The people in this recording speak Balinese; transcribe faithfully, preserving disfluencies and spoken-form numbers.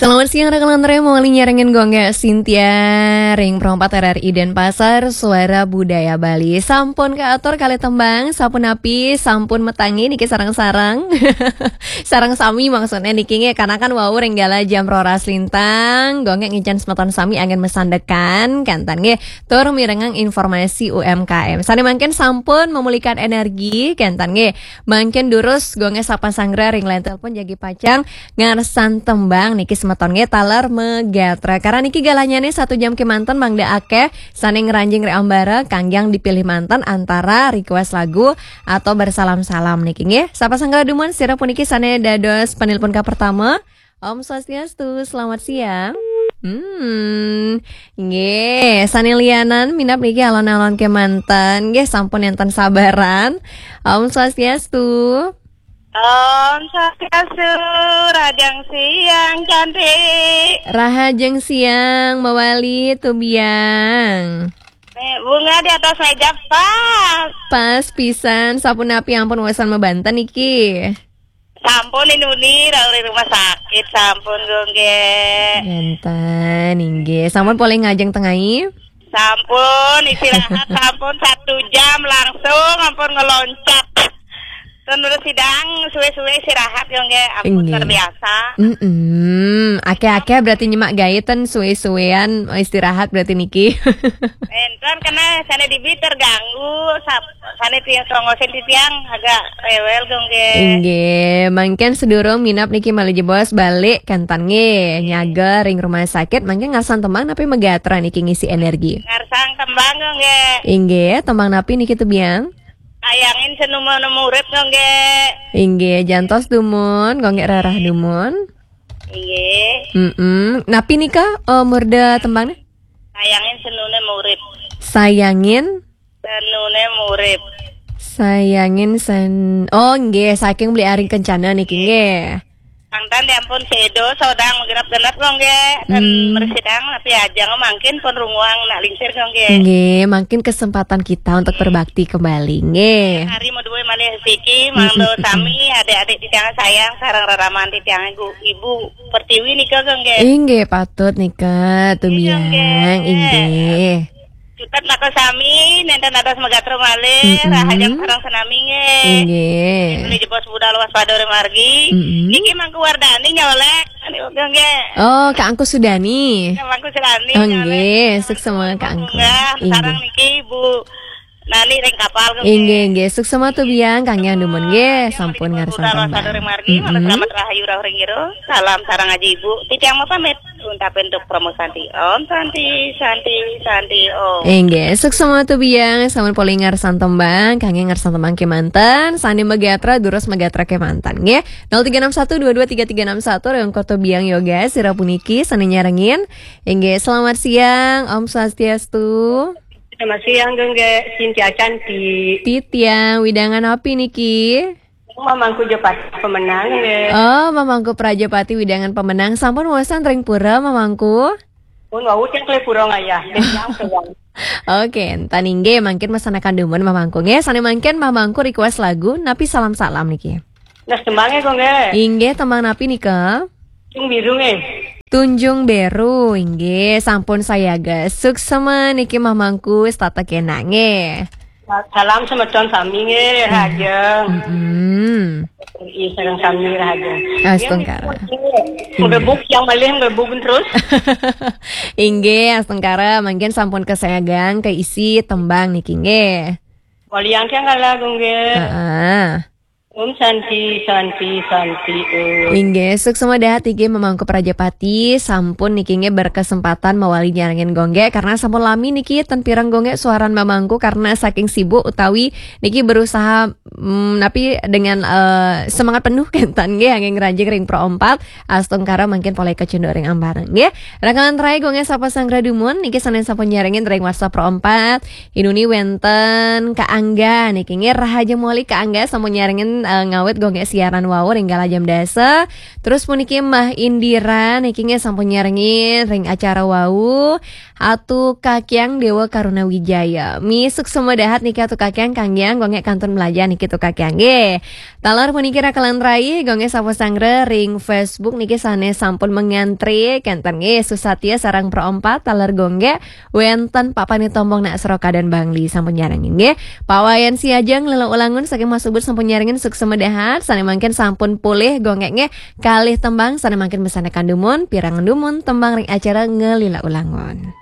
Selamat siang rekan lantai, mawali nyarengin Gongga Sintia ring Pro empat R R I Denpasar, Suara Budaya Bali. Sampun kaatur kalih tembang, sapunapi, sampun matangi niki sareng-sareng. Sareng sami maksudnya niki nggih, karena kan wau ring galah jam roras lintang, Gongga ngincen semeton sami anggen masandekan, kénten nggih, tur mirengang informasi U M K M. Sané mangkin sampun memulihkan energi, kénten nggih. Mangkin durus Gongga sapa sanggra ring line telepon jagi pacang ngarsan tembang niki semeton nggih taler magatra. Karena niki galahnya nih satu jam kemanten mangda akeh sané ngranjing ring ambara kangge dipilih manten antara request lagu atau bersalam-salam niki nggih. Sapa sanggra dumun sira puniki sané dados penelpon ka pertama. Om Swastiastu, selamat siang. Hmm, nggih, sané lianan minab niki alon-alon kemanten, nggih sampun enten sabaran. Om Swastiastu. Om Swastiastu, rahajeng siang cantik. Rahajeng siang, mawali tubiang. Nih, bunga di atas meja pas. Pas pisan, sapunapi ampun wesan mabanten niki. Sampun inuni, rauh ring rumah sakit, sampun Gongga. Ngenten, inggih. Sampun polih ngajeng tengai? Sampun istirahat, sampun satu jam langsung, ampun ngeloncat. Terus sidang suwe-suwe istirahat Gongga, ampun. Inggih. Luar biasa. Mm-mm. Akeh-akeh berarti nyemak gawe ten suwe-suwean istirahat berarti niki. Enten kena sané dibi terganggu, sap-, sané tiang trongosin titiang agak rewel Gongga. Inggih, mangkin sedurung minab niki malih jebos balik kénten nggih, nyaga ring rumah sakit, mangkin ngarsan tembang napi magatra niki ngisi energi. Ngarsang tembang Gongga. Inggih, tembang napi niki tubiang? Sayangin senune murid Gongga. Inggih, jantos dumun, Gongga rarah dumun. Inggih. Mm-mm. Napi nika, eh, murda tembangnya? Sayangin senune murid. Sayangin? Senune murid. Sayangin sen-, oh, nggih, saking Beli Aring Kencana niki, nggih. Angtan ya ampun, sedo, sodang, genep-genep, Gongga. Dan Hmm. Mersidang, tapi aja mangkin pun runguang nak lingsir, Gongga. Nggih, mangkin kesempatan kita untuk berbakti kembali, nggih. Hari mau dua malih siki, mangdo Mm-mm-mm. Sami, adik-adik titiang sayang, sareng raraman titiang ibu, ibu Pertiwi nika, Gongga. Inggih, patut nika, Iya, tubiang, Gongga. Inggih. Cutet naka sami, nenten atas magatra malih, Mm-mm. Rahajeng sareng senami nggih. Inggih. Ini jebos budal waspada ring margi. Mm-mm. Niki Mangku Wardani nyolek. Ini nggih. Oh, Kak Angku Sudani. Kak Angku Sudani, Oh, nyolek. Nggih, suksma Kak Angku. Bunga, inggih. Sareng niki Bu Nani ring kapal nggih. Inggih, inggih. Suksma tubiang, kangge dumun nggih. Sampun ngarsan tembang. Sampun ngarsan tembang. Selamat rahayu rauh ring ira. Salam sareng aji ibu. Titiang mau pamit. Untapin untuk promo Santi. Om Santi, Santi, Santi, Om. Inggih, suksma tubiang, sampun polih ngarsan tembang, kangge ngarsan tembang kemanten, sane magatra, durus magatra kemanten, nggih. Nol tiga enam satu dua dua tiga tiga enam satu, ring koto biang yoga, sira puniki, sane nyarengin. Inggih, selamat siang, Om Swastiastu. Selamat siang, Gongga Cynthia cantik. Titiang, wewidangan napi niki? Mamangku Jepati pemenang, nggih. Oh, Mamangku Prajapati wewidangan pemenang. Sampun wénten ring pura, Mamangku? Pun wau cang kle pura ngayah, den yang sewang. Oke, enten inggih, mangkin masanakan dumun Mamangku, nggih. Sane mangkin Mamangku request lagu, napi salam-salam niki? Nah, tembangnya kok, nggih. Inggih, tembang napi nika? Tunjung Biru, nggih. Tunjung Biru, inggih, sampun sayaga. Suksma niki Mamangku, setata kena, nggih. Salam semeton sami nggih, Rahajeng. Mm-mm. Ih, sareng sami Rahajeng. Astungkara. Nggih, nggih. Ngebuk yang malih ngebuk terus. Inggih, astungkara, mangkin sampun kasayagang kaisi tembang niki nggih. Waliang tiang kala, nggih. Heeh. Om Santi, Santi, Santi, Om. Inggih, suksma dahat niki Mamangku Prajapati, sampun niki nggih berkesempatan mawali nyarengin Gongga, karena sampun lami niki ten pireng Gongga suaran Mamangku karena saking sibuk utawi niki berusaha, mm, napi dengan, eh, semangat penuh kenten nggih, angge ngranjing ring Pro empat, astungkara mangkin polih kacunduk ring ambareng nggih. Rekan rai Gongga sapa sanggra dumun, niki sane sampun nyarengin ring WhatsApp Pro empat, Inuni wénten Kak Angga niki nggih, rahajeng mawali Kak Angga sampun nyarengin, eh, ngawit Gongga siaran wau ring galah jam dasa. Terus puniki Mbah Indira niki nggih sampun nyarengin ring acara wau. Atu Kakiang Dewa Karuna Wijaya. Mi suksma dahat niki Atu Kakiang, kanggiang Gung Gek kantun melajah niki Atu Kakiang nggih. Taler puniki rakelan rai, Gung Gek sampun sanggra ring Facebook niki sane sampun mengantri, kenten nggih Susatya sareng Pro Empat, taler Gung Gek wenten Pak Pani Tombong nak Seroka dan Bangli sampun nyarengin nggih. Pak Wayan Siajeng Lila Ulangun saking Masubud sampun nyarengin, suksma dahat, sane mangkin sampun polih Gung Gek nggih. Kalih tembang sane mangkin besandekan dumun, pirang dumun tembang ring acara Ngelila Ulangun.